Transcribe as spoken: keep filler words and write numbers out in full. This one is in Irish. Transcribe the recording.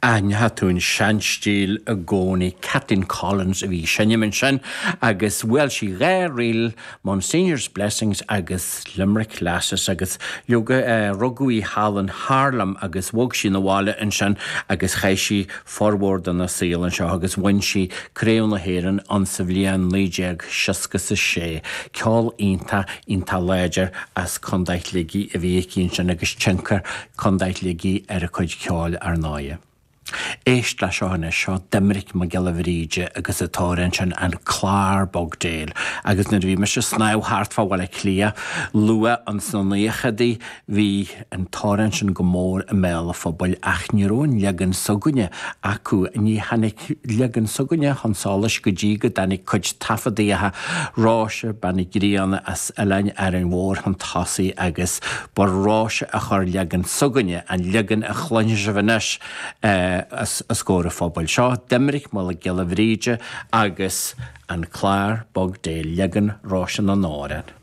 Aithneoidh tú an seanstíl i gcónaí. Kathleen Collins a bhí ag seinm ansin agus bhuail sí dhá ríl, Monsignor's Blessings agus Limerick Lasses agus leoga rugadh í thall in Harlem agus bhog sí 'na bhaile ansin agus chaith sí formhór dena saol anseo agus bhain sí Craobh na hÉireann an sa bhliain naoi déag seasca is a sé. Ceol iontach iontach láidir as Contae Shligigh a bhí aici ansin agus tionchar Contae Shligigh ar a cuid ceoil ar ndóigh. Éist le seo anois, seo Doiminic Mac Giolla Bhríde agus an t-amhrán sin An Clár Bog Béil. Agus nuair a bhí mise ag snámh thart fá Bhaile Átha Cliath luath ins na naochadaí bhí an t-amhrán sin go mór i mbéal an phobail ach ní raibh an leagan s'againne acu. Ní tháinig leagan s'againne chun solais go dtí go dtáinig cuid taifeadaithe Róise Bean na Grianna as Oileán Árainn Mhór chun tosaigh agus ba Róise a chuir leagan s'againne, an leagan a chluinfidh sibh anois, os comhair an phobail. Seo Doiminic Mac Giolla Bhríde agus An Clár Bog Béil, leagan Róise na nAmhrán.